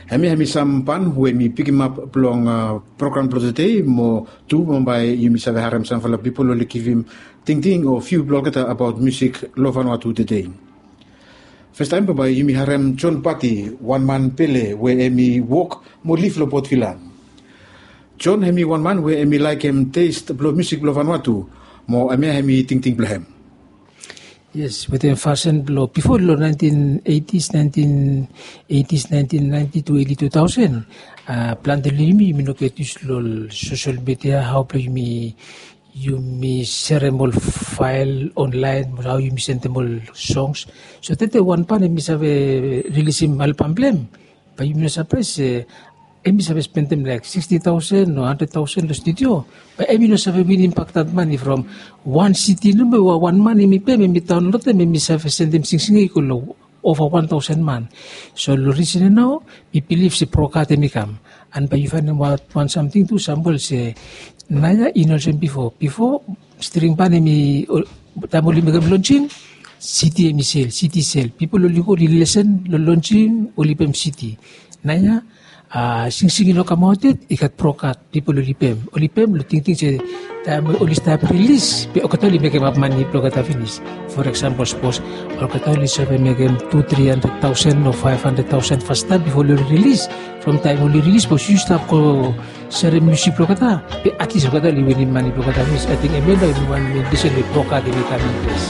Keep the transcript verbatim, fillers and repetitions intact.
Hemia hemi sam pan we mi pikimap blong program blong tede, mo tu bambae yumi save harem samfala pipol oli givim tingting o viu blong olgeta abaot musik long Vanuatu tede. Fastaem bambae yumi harem John Pati, wan man pele we hemi wok mo liv long Port Vila. John hemi wan man we hemi laekem test blong musik blong Vanuatu, mo hemia hemi tingting blong hem. Yes, wetem fasin blong bifo long nineteen eighties, nineteen eighties, nineteen ninety to early two thousand, plante long yumi yumi no get yus long social media, hao blong yumi yumi serem ol fael online, hao yumi sendem ol songs. So tede wan pan hemi save rilisim albam blong hem, bae yumi no sapraes se hemi save spendem laek sixty thousand o hundred thousand long studio, bae hemi no save winim bak dat mane from wan cd nomo we wan man hemi pem, hemi daonlodem, hemi save sendem singsing ya i go long ova wan thousand man. So long risen ya nao mi bilif se Prokat hemi kam. And bae yu faenem wan samting tu, sampol se naoia i no olsem bifo. Bifo string ban hemi, taem oli mekem lonsing, cd hemi sel, cd sel, pipol oli go oli lesen long lonsing, oli pem cd. Naoia singsing i no kamaot yet, i gat Prokat, pipol oli pem, oli pem long tingting se taem oli stap rilis be olgeta oli mekemap mane blong olgeta finis. For example, sapos olgeta oli save mekem tu tri handred taosen o faef handred taosen fastaem bifo oli rilis. From taem oli rilis, sapos yu stap go serem musik blong olgeta, be atlis olgeta oli winim mane blong olgeta finis. Ating hemia nao hemi wan men risen we Prokat hemi kam in ples.